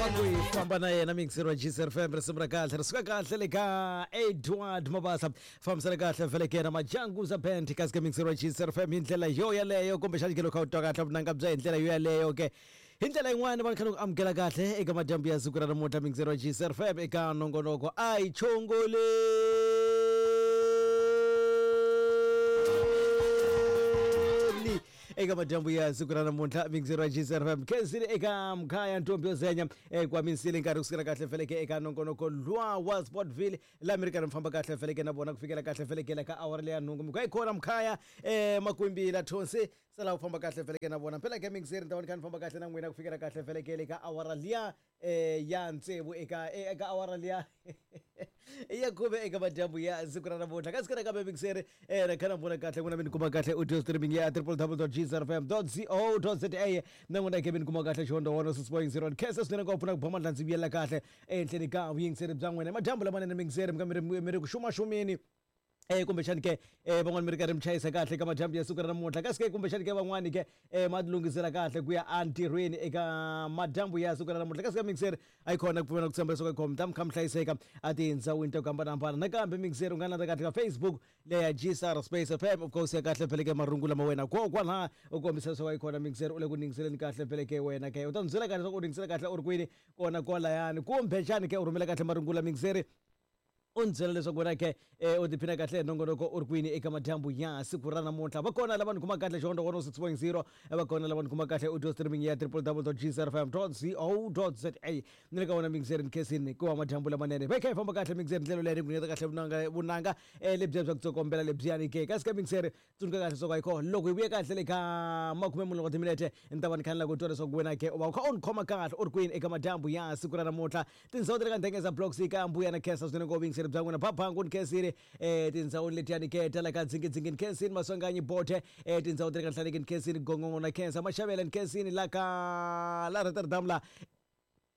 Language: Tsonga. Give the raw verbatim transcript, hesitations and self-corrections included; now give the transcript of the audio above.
Famba na yena mixer wa G C F M risimu ra kahle ri suka kahle le ka Edward Mabasa fambisana kahle vhele ke na Majanguza Band kasi ka mixer wa G C F M hi ndlela yo yaleyo kumbexana ke loko u twa kahle vunanga bya hi ndlela yo yaleyo ke hi ndlela yin'wana va kha ku amukela kahle eka madyambu ya siku ra namuntlha mixer wa G C F M eka nongonoko a hi chongoleni eka madyambu ya siku ra namuntlha mixer wa G C F M khensile eka mkhaya ntombi yo zenya kwamisile nkarhi kusukela kahle feleke eka nongonoko lwa wa Sportville la mi ri karhi mi famba kahle feleke na vona ku fikela kahle feleke la ka awara leya nhungu mi ku yi khona mkhaya eh makwimbi la thonsi sala u famba kahle feleke na vona phela ke mixer ni ta vona kha ni famba kahle na n'wina ku fikela kahle feleke le ka awara liya eh ya ntsevu eka eka awara liya ya khume eka madyambu ya siku ra namuntlha kasi ka nakambe mixer eh na khana vona kahle n'wina mi ni kuma kahle audio streaming ya w w w dot g c f m dot co dot z a na n'wina ke mi ni kuma kahle xihondo one six point zero khensa swinene ngopfu na ku ba mandla ndzi vuyela kahle ehenhleni ka vuyingiseri bya n'wina madyambu lamanene mixer mi ka mi ri mi ri ku xumaxumeni eh kumbexani ke eh van'wani mi ri karhi mi chayisa kahle ka madyambu ya siku ra namuntlha kasi ke kumbexani ke van'wani ke eh ma tilunghisela kahle ku ya entirhweni eka madyambu ya siku ra namuntlha kasi ka mixer a yi kona ku pfumela ku tshemba leswaku yi khoma ta mi kha mi hlayiseka a tindhawini ta ku hambanahambana nakambe mixer u nga landza kahle ka Facebook leya G S R Space F M of course ya kahle phele ke marungu lama wena kokwalaha u kombisa leswaku a yi kona mixer u le ku ningiseleni kahle phele ke wena ke u ta ni byela kahle leswaku u ningisela kahle u ri kwini kona kwalayani kumbexani ke u rhumela kahle marungu la mixer u ni byela leswaku wena ke u tiphina kahle hi nongonoko u ri kwini eka madyambu ya siku ra namuntlha va kona lava ni kuma kahle xihondo one six point zero va kona lava ni kuma kahle audio streaming ya w w w dot g c f m dot co dot z a ni le ka wona mixer ni khensini ku wa madyambu lamanene va kha hi famba kahle mixer ndlela leyi ni ku nyiketa kahle vunanga vunanga lebyiya bya ku tsokombela lebyiyani ke kasi ka mixer tsundzuka kahle leswaku a yi kona loko hi vuye kahle le ka makume mune wa timinete ni ta va ni kha ni lava ku twa leswaku wena ke u va u kha u ni khoma kahle u ri kwini eka madyambu ya siku ra namuntlha tindhawu ta le ka Ndengeza Blocks ka Mbuya na khensa swinene ngopfu vuyingiseri bya n'wina Phaphanga ni khensile eh tindhawini letiyani ke ta la ka Dzingidzingi ni khensini Maswanganyi Bote eh tindhawu ta le ka Nhlaneki ni khensini Gongongo na khensa Maxavela ni khensini la ka la Rotterdam la